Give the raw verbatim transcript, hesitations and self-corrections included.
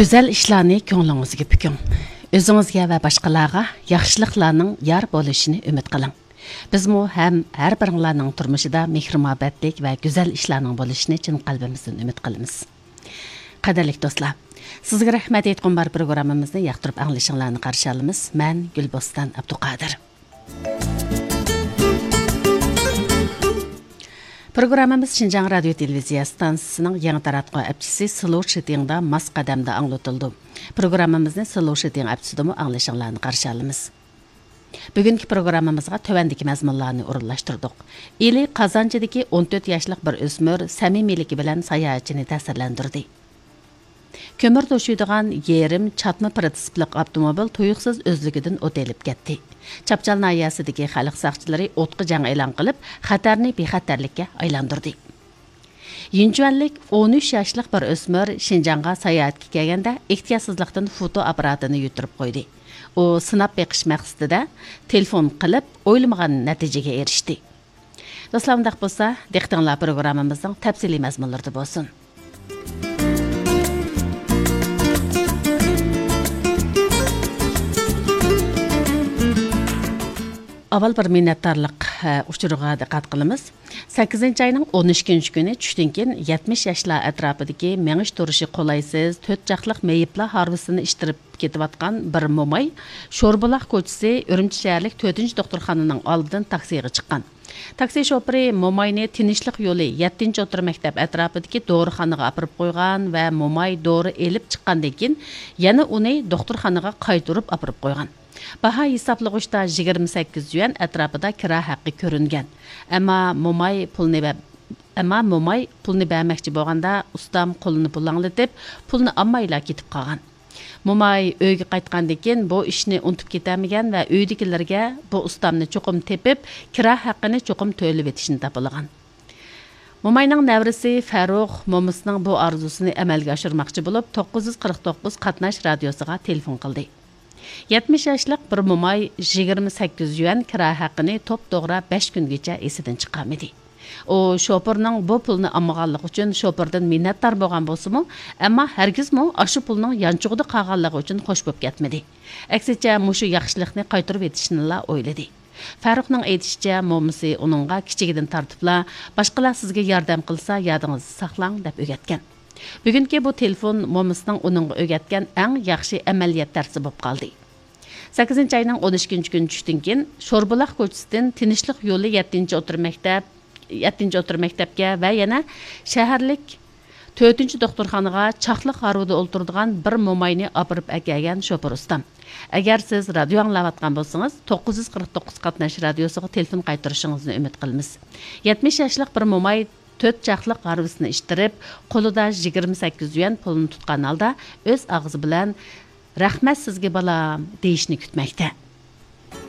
گۈزەل ئىشلارنى كۆڭلىڭىزگە پۈكۈڭ. ئۆزىڭىزگە ۋە باشقىلارغا ياخشىلىقلارنىڭ يار بولۇشىنى ئۈمىد قىلىڭ. بىزمۇ ھەم ھەر بىرىڭلارنىڭ تۇرمۇشىدا مېھىر-مۇھەببەتلىك ۋە گۈزەل ئىشلارنىڭ بولۇشىنى چىن قەلبىمىزدىن ئۈمىد قىلىمىز. قەدىرلىك دوستلار، سىزگە رەھمەت ئېيتقۇم بار پروگراممىمىزنى ياقتۇرۇپ ئاڭلىشىڭلارنى قارشى ئالىمىز. مەن گۈلبوستان ئابدۇقادىر. پروگراممىمىز شىنجاڭ رادىيو تېلېۋىزىيە ئىستانسىسىنىڭ يېڭى تاراتقۇ ئەپچىسى سلو شىتىڭدا ماس قەدەمدە ئاڭلىتىلىدۇ. پروگراممىمىزنى سلو شىتىڭ ئەپچىسىدىمۇ ئاڭلىشىڭلارنى قارشى ئالىمىز. بۈگۈنكى پروگراممىمىزغا تۆۋەندىكى مەزمۇنلارنى ئورۇنلاشتۇردۇق. ئىلى قازانچىدىكى ئون تۆت ياشلىق بىر ئۆسمۈر سەمىمىيلىكى بىلەن ساياھەتچىنى تەسىرلەندۈردى. كۆمۈر توشۇيدىغان يېرىم چاتما پىرىتسىپلىق ئاپتوموبىل تۇيۇقسىز ئۆزلۈكىدىن ئوت ئېلىپ كەتتى. چاپچال ناھىيەسىدىكى خەلق ساقچىلىرى ئوتقا جەڭ ئېلان قىلىپ، خەتەرنى بىخەتەرلىككە ئايلاندۇردى. يىنچۈەنلىك ئون ئۈچ ياشلىق بىر ئۆسمۈر شىنجاڭغا ساياھەتكە كەلگەندە، ئېھتىياتسىزلىقتىن فوتو ئاپپاراتىنى يۈتتۈرۈپ قويدى. ئۇ سىناپ بېقىش مەقسىتىدە تېلېفون قىلىپ، ئويلىمىغان نەتىجىگە ئېرىشتى. دوستلار، ئۇنداق بولسا، دىققىتىڭلار پروگراممىمىزنىڭ تەپسىلىي مەزمۇنلىرىدا بولسۇن. ئاۋۋال بىر مىننەتدارلىق، ئە، ئۇچۇرىغا دىققەت قىلىمىز. سەككىزىنچى ئاينىڭ ئون ئىككىنچى كۈنى چۈشتىن كېيىن يەتمىش ياشلار ئەتراپىدىكى مېڭىش تۇرۇشى قولايسىز، تۆت چاقلىق مېيىپلار ھارۋىسىنى ئىتتىرىپ كېتىۋاتقان بىر موماي شوربۇلاق كوچىسى ئۈرۈمچى شەھەرلىك تۆتىنچى دوختۇرخانىنىڭ ئالدىدىن تاكسىغا چىققان. تاكسى شوپۇرى موماينى تىنچلىق يولى يەتتىنچى ئوتتۇرا مەكتەپ ئەتراپىدىكى دورىخانىغا ئاپىرىپ قويغان ۋە موماي دورا ئېلىپ چىققاندىن كېيىن، يەنە ئۇنى دوختۇرخانىغا قايتۇرۇپ ئاپىرىپ قويغان. باھا ھېسابلىغۇچتا يىگىرمە سەككىز يۈەن ئەتراپىدا كىرا ھەققى كۆرۈنگەن. ئەمما موماي پۇلنى بە-، ئەمما موماي پۇلنى بەرمەكچى بولغاندا، ئۇستام قولىنى پۇلاڭلىتىپ، پۇلنى ئالمايلا كېتىپ قالغان. موماي ئۆيگە قايتقاندىن كېيىن، بۇ ئىشنى ئۇنتۇپ كېتەلمىگەن ۋە ئۆيدىكىلەرگە بۇ ئۇستامنى چوقۇم تېپىپ، كىرا ھەققىنى چوقۇم تۆلىۋېتىشنى تاپىلىغان. موماينىڭ نەۋرىسى فەرۇخ مومىسىنىڭ بۇ ئارزۇسىنى ئەمەلگە ئاشۇرماقچى بولۇپ، توققۇز يۈز قىرىق توققۇز قاتناش رادىيوسىغا تېلېفون قىلدى. يەتمىش ياشلىق بىر موماي يىگىرمە سەككىز يۈەن كىرا ھەققىنى توپتوغرا بەش كۈنگىچە ئېسىدىن چىقارمىدى. ئۇ شوپۇرنىڭ بۇ پۇلنى ئالمىغانلىقى ئۈچۈن شوپۇردىن مىننەتدار بولغان بولسىمۇ، ئەمما ھەرگىزمۇ ئاشۇ پۇلنىڭ يانچۇقىدا قالغانلىقى ئۈچۈن خوش بولۇپ كەتمىدى. ئەكسىچە، مۇشۇ ياخشىلىقنى قايتۇرۇۋېتىشنىلا ئويلىدى. فەرۇخنىڭ ئېيتىشىچە، مومىسى ئۇنىڭغا كىچىكىدىن تارتىپلا، «باشقىلار سىزگە ياردەم قىلسا، يادىڭىزدا ساقلاڭ» دەپ ئۆگەتكەن. بۈگۈنكى بۇ تېلېفون مومىسىنىڭ ئۇنىڭغا ئۆگەتكەن ئەڭ ياخشى ئەمەلىيەت دەرسى بولۇپ قالدى. سەككىزىنچى ئاينىڭ ئون ئىككىنچى كۈنى چۈشتىن كېيىن، شوربۇلاق كوچىسىدىن تىنچلىق يولى يەتتىنچى ئوتتۇرا مەكتەپ، يەتتىنچى ئوتتۇرا مەكتەپكە ۋە يەنە شەھەرلىك تۆتىنچى دوختۇرخانىغا چاقلىق ھارۋىدا ئولتۇرىدىغان بىر موماينى ئاپىرىپ ئەكەلگەن شوپۇر ئۇستام. ئەگەر سىز رادىيو ئاڭلاۋاتقان بولسىڭىز، توققۇز يۈز قىرىق توققۇز قاتناش رادىيوسىغا تېلېفون قايتۇرۇشىڭىزنى ئۈمىد قىلىمىز. يەتمىش ياشلىق بىر موماي تۆت چاقلىق ھارۋىسىنى ئىتتىرىپ، قولىدا يىگىرمە سەككىز يۈەن پۇلنى تۇتقان ھالدا ئۆز ئاغزى بىلەن «رەھمەت سىزگە، بالام» دېيىشنى كۈتمەكتە.